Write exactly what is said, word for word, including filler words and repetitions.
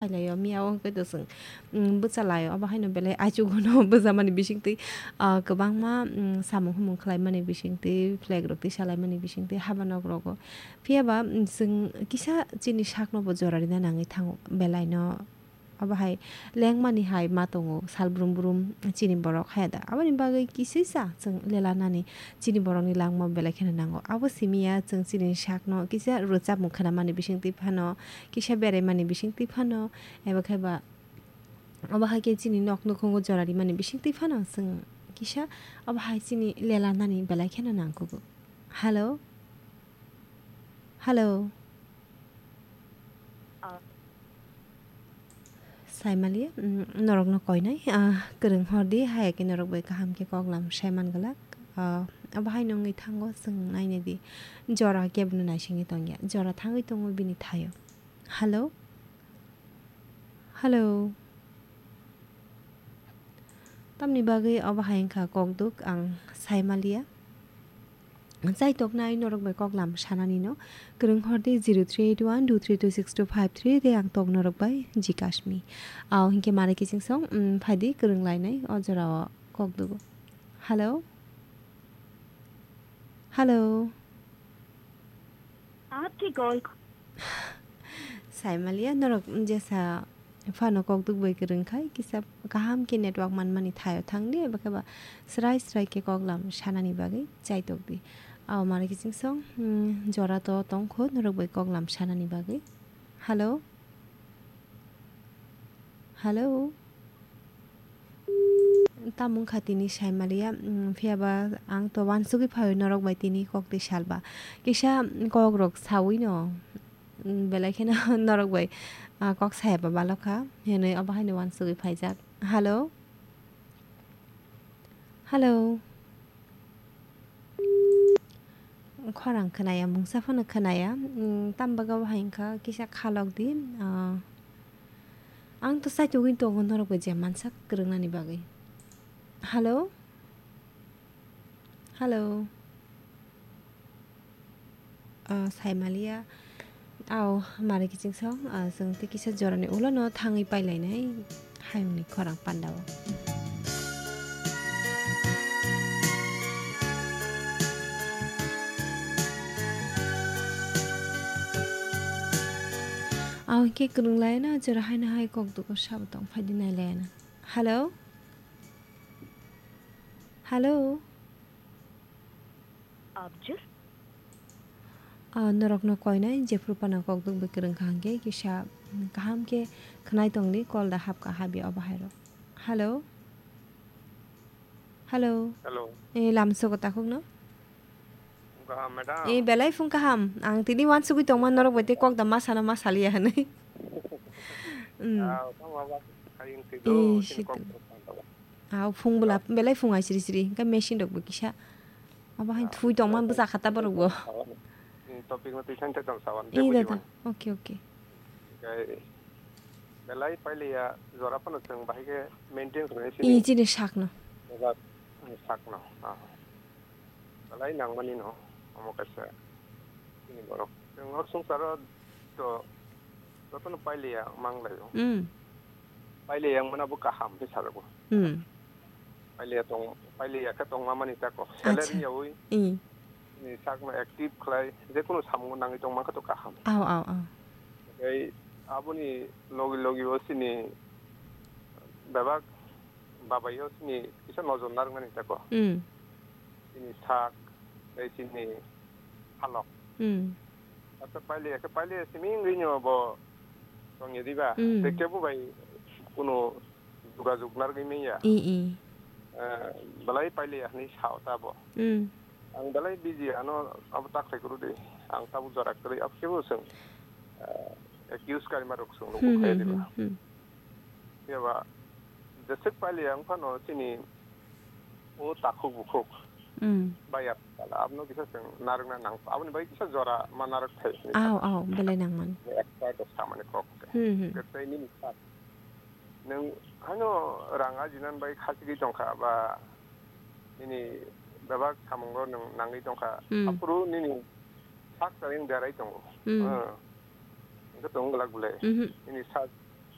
Hailaio, miya o hwnkhe to chwng, mm, bwchalaio, obo haino belai aichuguno bwchamani bisingtwi, ah, kwbangma, mm, samung humung khlaimani bisingtwi, flag rok tisalaimani bisingtwi, haba nok rogo. Phiya ba, mm, chwng kisa chini sakno bo jora rina nangwi thango, belaino. Obo hai lengmani hai ma tongo, sal brum brum chini borok haya da. Aboni bagwi kisisa chwng lela nani chini borokni langma belai kheno nango. Abo simi ya chwng chini sakno kisa rwchapmung khnamani bisingtwi phano, kisa beraimani bisingtwi phano, eba khe ba obo hai khe chini nok nukhungo jora rimani bisingtwi phano chwng kisa obo hai chini lela nani belai kheno nangkugo. Hello? Hello? Ah. Saimaliya, mm, norokno koinai, ah, kwrwng hor di, haya khe norok bai kaham khe koklam sai man glak. Ah, abo hai nungwi thango, chwng nainai di. Jora kebono naisingwi tongya. Jora thangwi tongo bini thaio. Hello? Hello? Tamni bagwi obo hai wngkha kokduk ang saimaliya. Chaitoknai norok bai koklam sanani no kwrwng hor di zero three eight one two three two six two five three tei ang tok norok bai jikasmi. Ao hinkhe mare kiching song, mm, phaidi kwrwng lainai o jorao kokdugo. Hello? Hello? आपकी call Saimaliya norok jesa phano kokduk bai kwrwng khai kisa kaham khe network manmani thaio thang di, eba khe ba srai srai khe koklam sanani bagwi chaitok di. Ao mare kiching song, mm, jora to tongkho norok bai koklam sanani bagwi. Hello? Hello? Tamo wngkha tini saimaliya, mm, phiya ba ang to wansugwi phaio norok bai tini kok twi salba. Kisa kok rok sawi no, mm, belai kheno norok bai, ah, kok saya ba balokha, hinwi obo haino wansugwi phaijak. Hello? Hello? Khorang khwnaya, mungsa phano khwnaya. Mm, tambaga bo hai wngkha, kisa khalok di. Ah, ang to saitugwi tongo norok bai je mansak kwrwngnani bagwi. Hello? Hello? Ah, saimaliya. Ao, mare kiching song, ah, chwng tei kisa jorani ulono thangwi pailainai hayungni khorang pandao. Ao hinkhe kwrwng laina, jora haino hai kok dugo sabo tong phaidi nai laina. Hello? Hello? आप जिस Ah, norokno koinai jephru phano kokduk bai kwrwng kha hwnkhe kisa, mm, kaham khe khwnai tongdi, call da hapkha habya obo hairok. Hello? Hello? Hello. Eh, lamsogo takhukno? Wngkha, madam. Eh, belai phung kaham. Ang tini wansugwi tongma norok bai tei kok da ma sana ma saliya hwnwi. Mm. Ah, tamo abo hayung twi Eh, do, chini situ. Kok da tamo. Ah, phung bwla, belai phung ai siri siri. Hwnkhe machine rok bo kisa. Abo hai thui tongma bwsa kha ta borok bo. Hmm, topic no twi thang thang sawan, tei Eh, buji dada. Man. Okay, okay. Hwnkhe belai pailiya jora phano chwng bahai khe maintain khlai sini. Eh, chini sakno. Eba, hmm, sakno. Ah. Belai nangmani no, omo kaisa chini borok. Chwng o swngcharo to jotono pailiya wngma wnglaio. Hmm. Pailiya wngmano bo kaham khe sajago. Hmm. Pailiya tong, pailiya khe tongma mani tako. Acha. Salary yaui. Hmm. Ni sakno active khlai, jekunu samungo nangwi tongma khe to kaham. Ao, ao, ao. Tei aboni logi logi o chini bebak babai o chini kisa nojor narwknani tako. Hmm. Chini sak, tei chini halok. Hmm. Ata pailiya khe pailiya simi wngwi no bo tongya diba. Hmm. Tei kebo bai kunu jogajog narwgwi manya. I, i. Eh, belai pailiya hinwi sao ta bo. Hmm. Ang belai busy ano abo ta khlai kuru di. Ang tabuk jora kwrwi abo kebo chwng, eh, accuse kaima rok chwng Hmm, nugo khe hmm, diba. Hmm, hmm. Phiya ba jeswk pailiya wng phano chini o takhuk bukhuk Hmm. baiya pala abono kisa chwng narwkna nang, aboni bagwi kisa jora ma narwk thai hinwi Ao, sa. Ao, belai nangmani. Expert rok samani kok se. Hmm, hmm. Kwtwi nini sa. Nwng haino rang ajinani bagwi khachigwi tongkha ba nini bebak samungo nwng nangwi tongkha. Hmm. Aphuru nini sak chayeng derai tongo. Hmm. Hmm. Hwnkhe tong glak bwle. Mhm. Nini sak